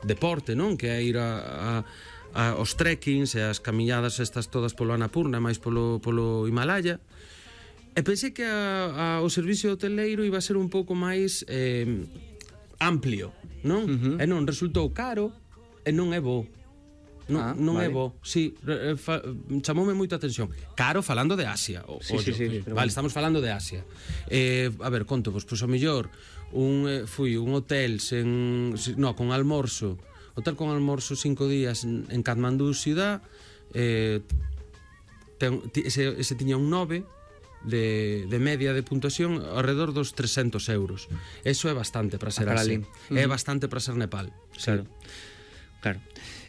deporte, non? Que é ir aos trekkings e as camiñadas estas todas polo Annapurna, máis polo Himalaya. E pensei que o servicio hoteleiro iba a ser un pouco máis amplio, non? E non, resultou caro e non é bo. Non vale. É bo, sí, chamoume moito a atención. Caro falando de Asia, sí, vale, estamos falando de Asia. A ver, conto vos, pois ao mellor fui un hotel con almorzo, hotel con almorzo 5 días en Katmandú ciudad, ese tiña un 9 de media de puntuación alrededor dos 300 euros. Eso é bastante para ser Asia. É bastante para ser Nepal. Claro, claro.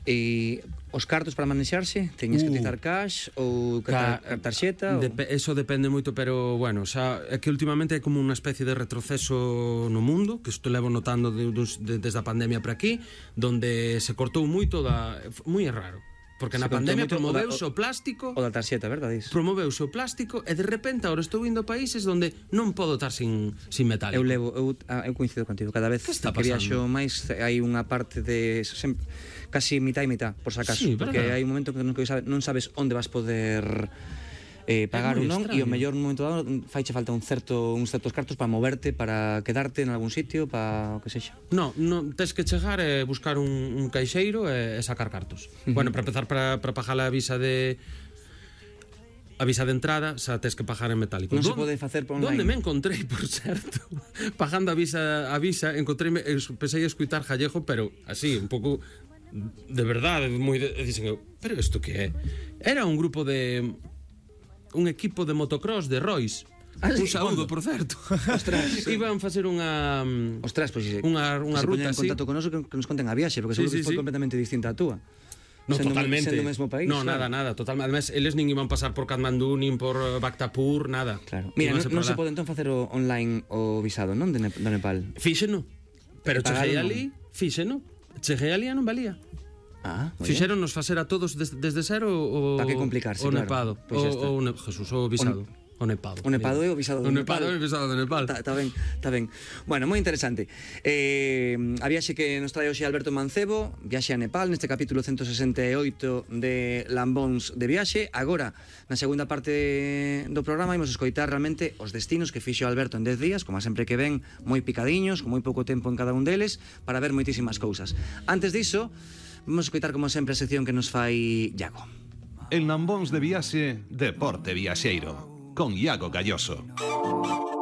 E os cartos para manexarse, teñes que utilizar cash ou tarxeta? Eso depende moito, pero bueno, xa é que últimamente é como unha especie de retroceso no mundo, que isto levo notando desde a pandemia para aquí, donde se cortou moito moi raro. Porque na pandemia promoveuse o plástico. O da tarxeta, verdade? Promoveuse o plástico e de repente agora estou indo a países onde non podo estar sin metálico. Eu coincido contigo. Cada vez que viaxo máis hai unha parte de casi mitad e mitad, por si acaso. Sí, porque hai un momento que non sabes onde vas poder pagar ou non, e o mellor no momento dado faiche falta uns certos cartos para moverte, para quedarte en algún sitio, para o que sexa. Non, tens que chegar e buscar un caixeiro e sacar cartos. Bueno, para empezar, para pagar a visa de entrada, xa tens que pagar en metálico. Non se pode facer por online. Donde me encontrei, por certo, pagando a visa, encontreime, pensei a escutar gallego, pero así, un pouco de verdade, dicen eu, pero isto que é? Era un grupo un equipo de motocross de Rois. Un saúdo, por certo. Ostras, iban facer unha ruta así. Se poñen en contacto con nos que nos conten a viaxe, porque seguro que foi completamente distinta a túa. No, totalmente. Sendo o mesmo país. No, nada, totalmente. Además, eles nin iban pasar por Katmandú, nin por Bhaktapur, nada. Claro. Mira, non se pode entón facer online o visado, non? Do Nepal. Fíxeno. Pero cheguei ali e non valía. Fixeron nos facer a todos desde cero para que complicarse, o Nepado, o Jesús, o visado. O Nepado. O Nepado é o visado do Nepal. O Nepado é o visado do Nepal. Está ben. Bueno, moi interesante. A viaxe que nos trae hoxe Alberto Mancebo, viaxe a Nepal, neste capítulo 168 de Lambóns de viaxe. Agora, na segunda parte do programa, imos escoitar realmente os destinos que fixo Alberto en 10 días, como sempre que ven, moi picadiños, con moi pouco tempo en cada un deles, para ver moitísimas cousas. Antes diso, vamos a escoitar como sempre a sección que nos fai Iago. En Lambóns de viaxe, Deporte Viaxeiro, con Iago Galloso.